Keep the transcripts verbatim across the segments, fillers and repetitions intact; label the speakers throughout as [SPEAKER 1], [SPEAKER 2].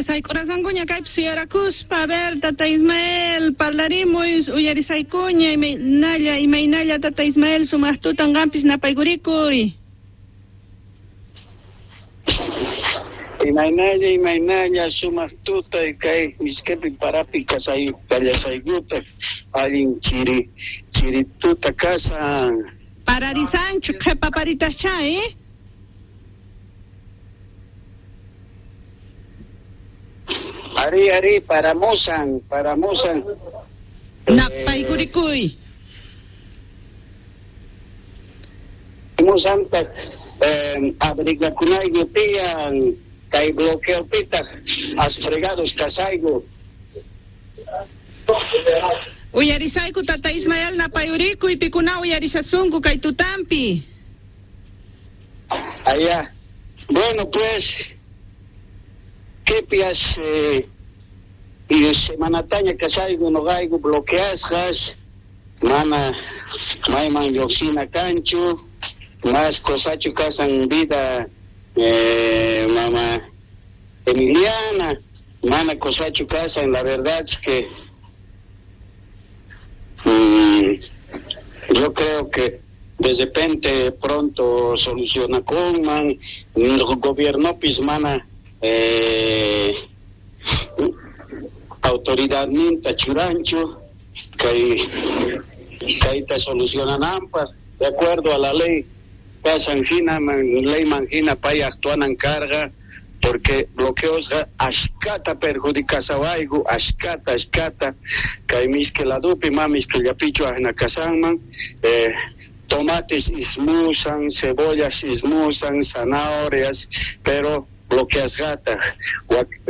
[SPEAKER 1] Icha sayk'urasankuña kaypi suyarakuspa. A ver, tata Ismael, parlarimuy, uyarisaykuña, imaynalla, imaynalla tata Ismael, sumaq tutan qampis napaykurikuy.
[SPEAKER 2] Imaynalla, imaynalla, sumaq tuta kay miskipi parapi kasay kallasaykuta, allin chiri, chiri tuta kasan.
[SPEAKER 1] Pararisanchu, qhepa paritascha, eh?
[SPEAKER 2] Ari, ari, paramusan, paramusan.
[SPEAKER 1] Napaykurikuy.
[SPEAKER 2] Musantaq eh, abrigakunayku tiyan, kay bloqueopitaq asfregados kasayku.
[SPEAKER 1] Uyarisayku tata Ismael, napayurikuy, pikuna uyarisasunku kay tutampi.
[SPEAKER 2] Allá. Bueno, pues, kepias eh, y semanataña kasayku noqayku bloqueasqas, mana mayman lluqsina kanchu, mas cosachu kasan vida eh, mama Emiliana, mana cosachu kasan, la verdad es que mm, yo creo que de repente pronto soluciona con man, gobierno pismana eh, autoridad ninta churancho kay kayta solucionananpaq de acuerdo a la ley pasan hina man, ley manjina pay actuanan carga porque bloqueosqa ashkata perjudicasawayku, ashkata ashkata kay miski ladupi ma miskillapichu ajna kasanman eh, tomates ismusan, cebollas ismusan, zanahorias, pero bloqueasqataq.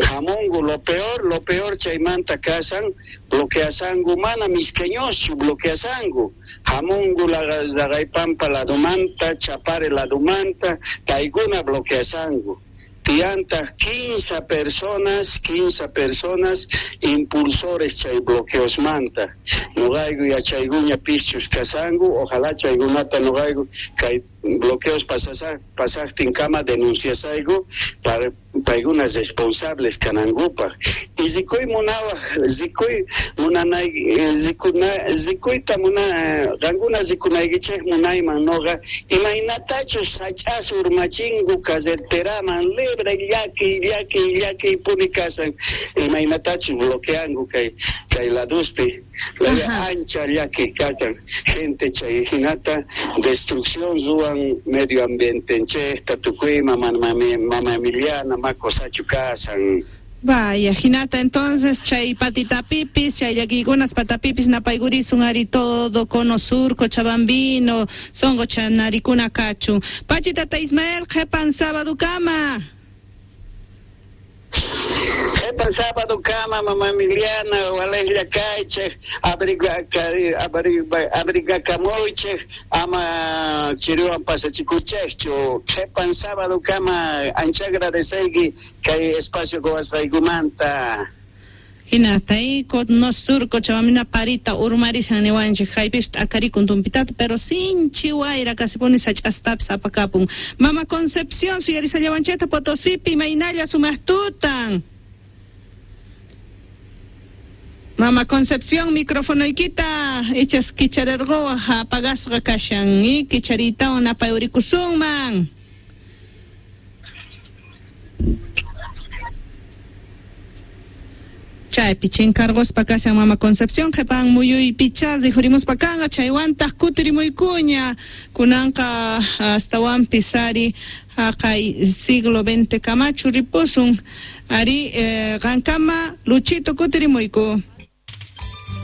[SPEAKER 2] Hamungu lo peor, lo peor chaymanta kasan, bloqueasangu mana misqueñoschu bloqueasangu. Hamungu Raqaypampa ladumanta, Chapare ladumanta, paykuna bloqueasangu. Tiantaq quince personas, quince personas impulsores chay bloqueosmanta. Noqayku yachaykuña pischus kasanku, ojalá chaykunata noqayku kay bloqueos pasasa pasaqtinkama denunciasayku para paykunas responsables kanankupaq. Y rikuy munawaq, rikuy munanay rikuna rikuyta muna qankuna rikunaykichej munayman noqa imaynatachus sach'as urmachinku carreteraman libre llaki llaki llaki puni kasan imaynatachus bloqueanku kay kay laduspi la ancha llaki kakan gente chay hinata destrucción ruwan medio ambientenchejta tukuyma mama mama Emiliana makosachu kasan.
[SPEAKER 1] Vaya, hinata entonces chay patitapipis, chay llakiykunas patapipis napaykurisun ari todo cono sur, Cochabambino, songo chanarikuna kachun. Pachi tata Ismael, qhepan sábado kama.
[SPEAKER 2] Qhepan sábado kama, mama Emiliana, walejlla kaychej, abrigakamuychej, ama chiriwan pasachikuchejchu. Qhepan sábado kama, ancha agradeceyki kay espacio quwasqaykumanta.
[SPEAKER 1] Hinata y cono sur Cochabambina parita urmarisan niwanchik haypis t'akarikun tumpitata, pero sinchi wayra casi pone sach'astapis apakapun. Mama Concepción suyarisallawanchikta Potosipi imaynalla sumaq tutan. Mama Concepción, microfonoykita ichas kicharerqowaq apagasqa kashan y kichariytawan napayurikusunman. Chaypi chinkarquspa kashan Mama Concepción, qhepan muyuypicha rikhurimuspa kanqa, chaywantaq kutirimuykuña kunanqa astawanpis ari haqay siglo veinte kamachu ripusun ari eh, qankama Luchito kutirimuyku.